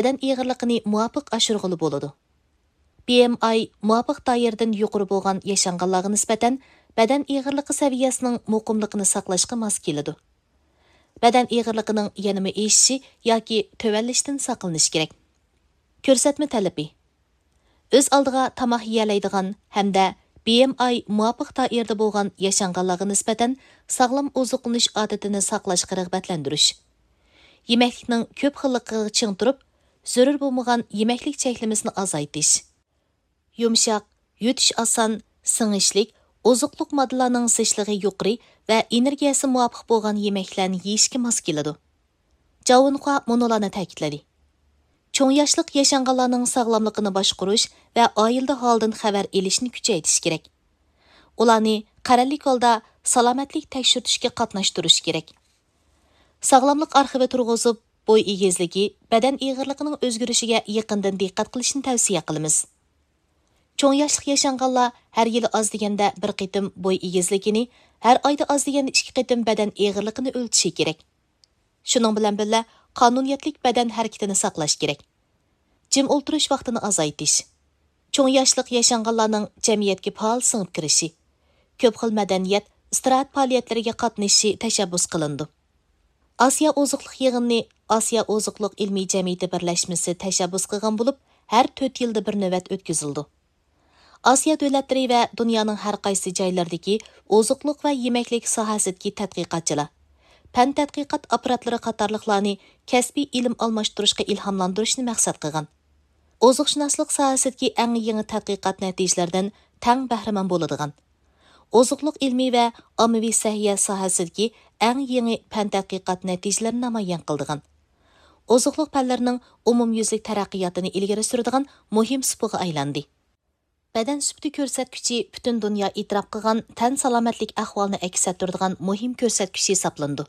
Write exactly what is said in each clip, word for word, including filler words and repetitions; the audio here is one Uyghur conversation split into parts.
بەدەن ئېغىرلىقىنى مۇۋاپىق ئاشۇرغىلى بولىدۇ. بىئېمئاي مۇۋاپىق دائىرىدىن يۇقىرى بولغان ياشانغانلارغا نىسبەتەن بەدەن ئېغىرلىقى سەۋىيەسىنىڭ مۇقىملىقىنى ساقلاشقا ماس كېلىدۇ. بەدەن ئېغىرلىقىنىڭ يەنىمۇ ئېشىشى ياكى تۆۋەنلىشىدىن ساقلىنىش كېرەك. كۆرسەتمە تەلىپى: ئۆز ئالدىغا تاماق يېيەلەيدىغان ھەمدە بىئېمئاي مۇۋاپىق دائىرىدە بولغان ياشانغانلارغا نىسبەتەن ساغلام ئوزۇقلىنىش ئادىتىنى ساقلاشقا رىغبەتلەندۈرۈش. يېمەكلىكنىڭ كۆپ خىللىقىغا چىڭ تۇرۇپ، زۆرۈر بولمىغان يېمەكلىك چەكلىمىسىنى ئازايتىش. يۇمشاق، يۇتۇش ئاسان، سىڭىشلىك، ئوزۇقلۇق ماددىلارنىڭ زىچلىقى يۇقىرى ۋە ئېنېرگىيەسى مۇۋاپىق بولغان يېمەكلەرنى يېيىشكە ماس كېلىدۇ. جاۋېنخۇا مۇنۇلارنى تەكىتلىدى: چوڭ ياشلىق ياشانغانلارنىڭ ساغلاملىقىنى باشقۇرۇش ۋە ئائىلىدە ھالىدىن خەۋەر ئېلىشنى كۈچەيتىش كېرەك. ئۇلارنى قەرەللىك ھالدا سالامەتلىك تەكشۈرتۈشكە قاتناشتۇرۇش كېرەك. ساغلاملىق ئارخىۋى تۇرغۇزۇپ، بوي ئېگىزلىكى، بەدەن ئېغىرلىقىنىڭ ئۆزگىرىشىگە يېقىندىن دىققەت قىلىشنى تەۋسىيە قىلىمىز. چوڭ ياشلىق ياشانغانلار ھەر يىلى ئاز دېگەندە بىر قېتىم بوي ئېگىزلىكىنى، ھەر ئايدا ئاز دېگەندە ئىككى قېتىم بەدەن ئېغىرلىقىنى ئۆلچىشى كېرەك. شۇنىڭ بىلەن بىللە، قانۇنىيەتلىك بەدەن ھەرىكىتىنى ساقلاش كېرەك. جىم ئولتۇرۇش ۋاقتىنى ئازايتىش. چوڭ ياشلىق ياشانغانلارنىڭ جەمئىيەتكە پائال سىڭىپ كىرىشى، كۆپ خىل مەدەنىيەت، ئىستىراھەت پائالىيەتلىرىگە قاتنىشىشى تەشەببۇس قىلىنىدۇ. ئاسىيا ئوزۇقلۇق يىغىنىنى ئاسىيا ئوزۇقلۇق ئىلمىي جەمئىيىتى بىرلەشمىسى تەشەببۇس قىلغان بولۇپ، ھەر تۆت يىلدا بىر نۆۋەت ئۆتكۈزۈلىدۇ. ئاسىيا دۆلەتلىرى ۋە دۇنيانىڭ ھەر قايسى جايلىرىدىكى ئوزۇقلۇق ۋە يېمەكلىك ساھەسىدىكى تەتقىقاتچىلار، پەن تەتقىقات ئاپپاراتلىرى قاتارلىقلارنى كەسپىي ئىلىم ئالماشتۇرۇشقا ئىلھاملاندۇرۇشنى مەقسەت قىلغان. ئوزۇقشۇناسلىق ساھەسىدىكى ئەڭ يېڭى تەتقىقات نەتىجىلىرىدىن تەڭ بەھرىمەن بولىدىغان، ئوزۇقلۇق ئىلمى ۋە ئاممىۋى سەھىيە ساھەسىدىكى ئەڭ يېڭى پەن تەتقىقات نەتىجىلىرىنى نامايان قىلىدىغان، ئوزۇقلۇق پەنلىرىنىڭ ئومۇميۈزلۈك تەرەققىياتىنى ئىلگىرى سۈرىدىغان مۇھىم سۇپىغا ئايلاندى. بەدەن سۈپىتى كۆرسەتكۈچى پۈتۈن دۇنيا ئېتىراپ قىلغان تەن سالامەتلىك ئەھۋالىنى ئەكس ئەتتۈرىدىغان مۇھىم كۆرسەتكۈچ ھېسابلىنىدۇ.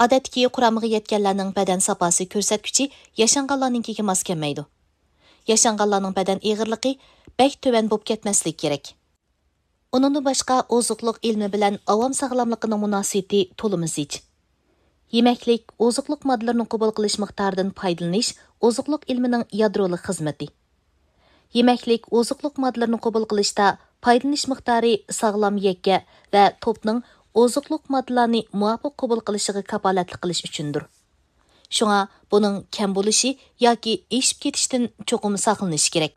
ئادەتتىكى قۇرامىغا يەتكەنلەرنىڭ بەدەن ساپاسى كۆرسەتكۈچى ياشانغانلارنىڭكىگە ماس كەلمەيدۇ. ياشانغانلارنىڭ بەدەن ئېغىرلىقى بەك تۆۋەن بولۇپ كەتمەسلىكى كېرەك. ئۇنىڭدىن باشقا، ئوزۇقلۇق ئىلمى بىلەن ئاۋام ساغلاملىقىنىڭ مۇناسىۋىتى تولىمۇ زىچ. يېمەكلىك، ئوزۇقلۇق ماددىلىرىنى قوبۇل قىلىش مىقدارىدىن پايدىلىنىش ئوزۇقلۇق ئىلمىنىڭ يادرولۇق خىزمىتى. يېمەكلىك، ئوزۇقلۇق ماددىلىرىنى قوبۇل قىلىشتا پايدىلىنىش مىقدارى ساغلام يەككە ۋە توپنىڭ ئوزۇقلۇق ماددىلارنى مۇۋاپىق قوبۇل قىلىشىغا كاپالەتلىك قىلىش ئۈچۈندۇر. شۇڭا بۇنىڭ كەم بولۇشى ياكى ئېشىپ كېتىشتىن چوقۇم ساقلىنىش كېرەك.